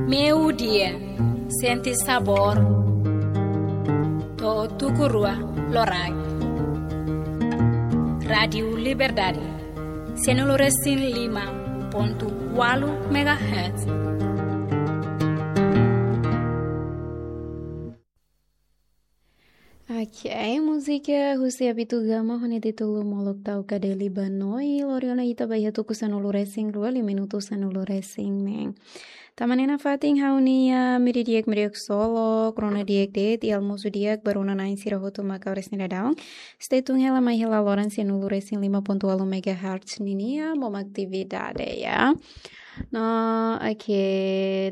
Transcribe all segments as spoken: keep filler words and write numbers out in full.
Meiudia, sente sabór. To'o tuku rua loraik. Rádiu Liberdade, sanulu-resin-lima pontu ualu megahertz. Ok, múzika husi Abito Gama ho nia títulu Molok Tau Kadeli Banoi, lori ona ita ba iha tuku sanulu-resin-rua, liu minutu sanulu-resin-neen. Tama ona iha fatin ha'u-nia meiudia di'ak, meiudia di'ak solo, rona di'ak de'it, i almosu di'ak ba rona-na'in sira hotu maka oras ne'e daudaun. Stay tune hela mai hela loron sanulu-resin-lima pontu ualu megahertz ninia, bom atividade, ya. No, ok,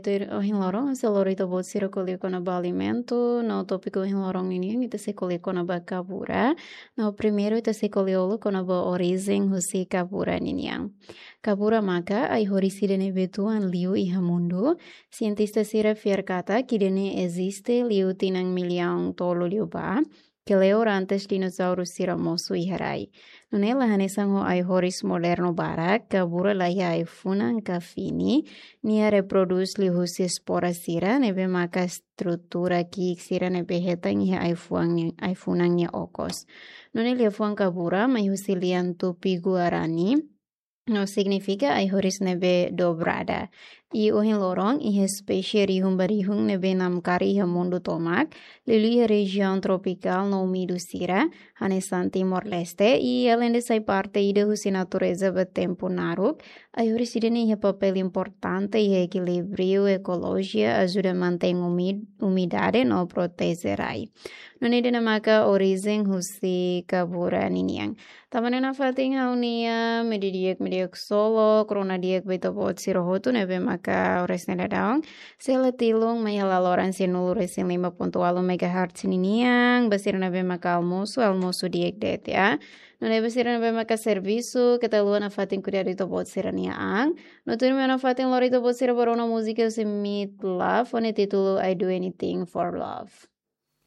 tuir ohin loron, sei lori ita-boot sira ko'alia kona-ba alimentu, no tópiku ohin loron ninian, ita sei ko'alia kona-ba kabura. No, primeiru ita sei ko'alia uluk kona-ba orijen husi kabura ninian. Kabura maka ai-horis ida ne'ebé tuan liu iha mundu. Sientista sira fiar katak ida-ne'e eziste liu tinan millaun tolu liubá, kleur antes dinosauru sira mosu iha rai. Nune'e la hanesan ho ai-horis modernu barak, kabura laiha ai-funan ka fini, nia reprodús liuhusi espora sira, ne'ebé maka estrutura ki'ik sira ne'ebé hetan iha ai-fuan nia, ai-funan nia okos. Nune'e liafuan kabura mai husi lian Tupi-Guarani, no signifika ai-horis ne'ebé dobrada. I ohin loron, iha espésie rihun ba rihun ne'ebé namkari iha mundu tomak, liuliu iha rejiaun tropikál no úmidu sira, hanesan Timor-Leste, i aleinde sai parte ida husi natureza ba tempu naruk, ai-horis ida-ne'e iha papél importante iha ekilíbriu ekolojia, ajuda mantein umi-, umidade no proteje rai. Nune'e ida-ne'e maka orijen husi kabura ninian. Tama ona iha fatin ha'u-nia meiudia di'ak, meiudia di'ak solo, rona di'ak ba ita-boot sira hotu ne'ebé maka oras ne'e daudaun sei hela tilun mai hela loron sanulu-resin-lima pontu ualu megahertz ninian, ba sira ne'ebé maka almosu, almosu di'ak de'it, ya. Nune'e ba sira ne'ebé maka servisu, keta haluha nafatin kuidadu ita-boot sira-nia an. No tuirmai nafatin lori ita-boot sira ba rona múzika husi Meat Loaf, ho nia títulu I Do Anything for Love.